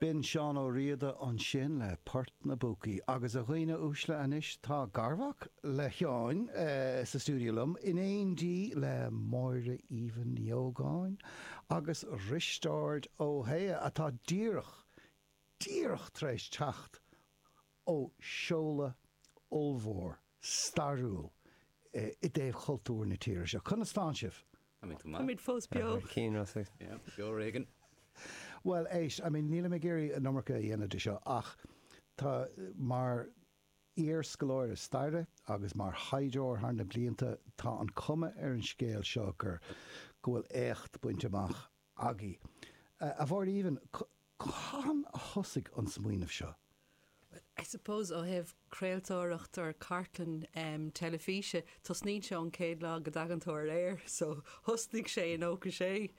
B'in Seán Ó Riada ansin le Port na bPúcaí. Agus a dhaoine uaisle anois tá garmhac le Sheáin sa stiúideo liom, in éindí le Máire Aoibhinn Ní Ógáin agus Risteárd Ó hAodha atá díreach, díreach tar éis teacht ó seoladh ollmhór, stairiúil i dtaobh chultúr na tíre seo. Conas tánn sibh? Táimid go maith. Táimid fós beo. Cinn, Rossa. Yeah, beo ar éigean. Bhuel, éist, I mean, nílim ag iarraidh an iomarca a dhéanamh de seo ach tá, mar iar-scoláire staire agus mar thaighdeoir thar na blianta, tá an cuma ar an scéal seo gur, go bhfuil éacht bainte amach agaibh. A Mháire Aoibhinn, cathain a thosaigh an smaoineamh seo? I suppose ó thaobh craoltóireacht or cartlann teilifíse, tosnaíonn sé ón chéad lá go dtagann tú ar aer. So thosnaigh sé i 96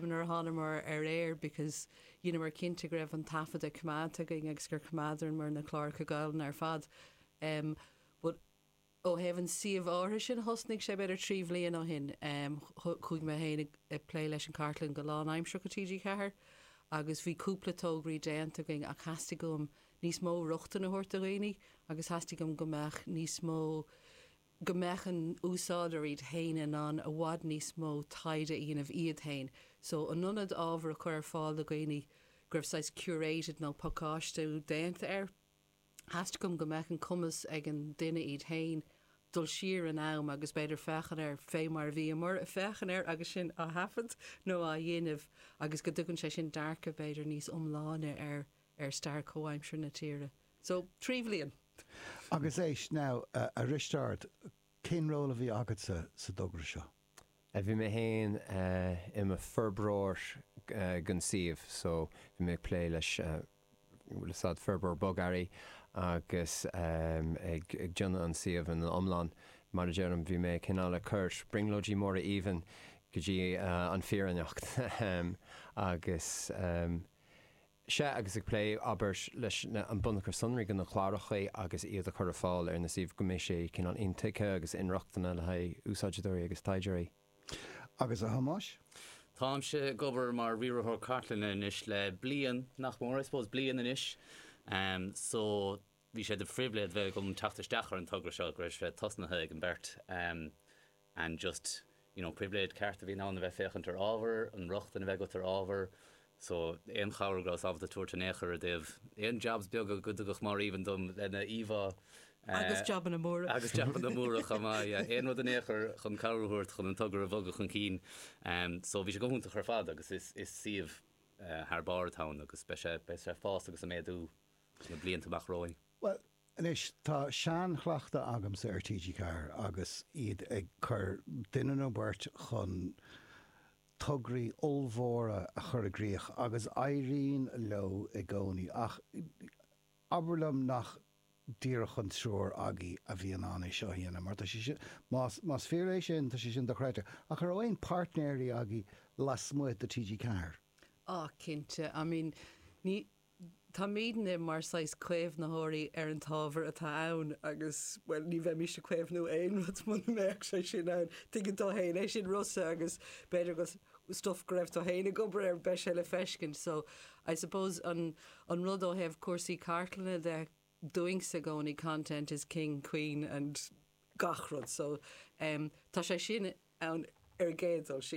nuair a thánamar ar aer because dheineamar cinnte go raibh an taifeadadh coimeádta againn agus gur choimeádamar na cláracha Gaelainne ar fad. But Ó thaobh an suíomh áirithe sin, thosnaigh sé b'fhéidir 3 bhliain ó shin. Chuaigh mé féin ag plé leis an chartlann go lánaimsearach i TG4 agus bhí cúpla tograí déanta againn ach theastaigh uaim níos mó rochtain a thabhairt do dhaoine agus theastaigh uaim go mbeadh níos mó, go mbeadh an úsáideoir iad féin in ann i bhfad níos mó taighde a dhéanamh iad féin. So in ionad ábhar a chur ar fáil do dhaoine go raibh saghas curated nó pacáistiú déanta air, Theastaigh uaim go mbeadh an cumas ag an duine iad féin dul siar in am agus b'fhéidir féachaint air fé mar a bhíomar ag féachaint air agus sinn á thaifead nó á dhéanamh agus go dtugann sé sin dearcadh b'fhéidir níos iomláine ar ar stair chomhaimseartha na tíre. So, 3 bhliain. Agus éist now, a Risteárd, cén ról a bhí agatsa sa dtogra seo? Bhí mé féin i mo forbróir don suíomh so bhí mé ag plé leis bhfuil fhios a'd forbróir bogearraí agus ag déanamh an suíomh ina iomlán. Mar a deirim bhí mé cineál ag cur brionglóidí Máire Aoibhinn go dtí an fírinneacht agus Sea, agus ag plé, abair, leis an bunachar sonraí de na cláracha agus iad a chur ar fáil ar na suímh go mbeidh sé cineál intuigthe agus inrochtana le haghaidh úsáideoirí agus taighdeoirí. Agus a Thomáis? Táimse ag obair mar riarthóir cartlainne anois le bliain, nach mór, I suppose bliain anois. So, bhí sé de phribhléid bheith agam teacht isteach ar an togra seo, go raibh sé tosnaithe ag an beirt. And just, you know, pribhléid ceart a bhíonn ann a bheith féachaint ar ábhar, an rochtain a bheith agat ar ábhar. So, aon chabhair go rabhas ábalta tabhairt in aon chor i dtaobh aon jobs beaga go dtugadh Máire Aoibhinn dom lena íomhá. Agus jabanna móra. Agus jabanna móra chomh maith, yeah. Aon rud in aon chor chun cabhair a thabhairt chun an togra a bhogadh chun cinn. So, bhí sé go hiontach ar fad agus is, is suíomh thar barr atá ann agus beidh sé, beidh sé ag fás agus ag méadú sna blianta amach romhainn. Bhuel, Anois, tá seanchleachtadh agamsa ar TG4 agus iad ag cur duine nó beirt chun tograí ollmhóra a chur i gcrích agus éiríonn leo i gcónaí. Ach abair liom nach díreach an triúr agaibh a bhí in ann é seo a dhéanamh, mar tá sé sin, más, más fíor é sin, tá sé sin dochreidte. Ach an raibh aon páirtnéirí agaibh lasmuigh de TG4? Ah, cinnte. I mean, ní, Táimidne mar saghas caomhnaitheoirí ar an t-ábhar atá ann agus, bhuel, ní bheimís ag caomhnú aon rud muna mbeadh sé sin ann. Tuigeann tú féin é sin, Rossa, agus b'fhéidir go stuff go raibh tú féin ag obair air, beidh sé le feiscint. So, I suppose an an rud ó thaobh cúrsaí cartlainne de, dúinnse i gcónaí content is king, queen and gach rud. So, em, tá sé sin ann ar an gcéad dul síos.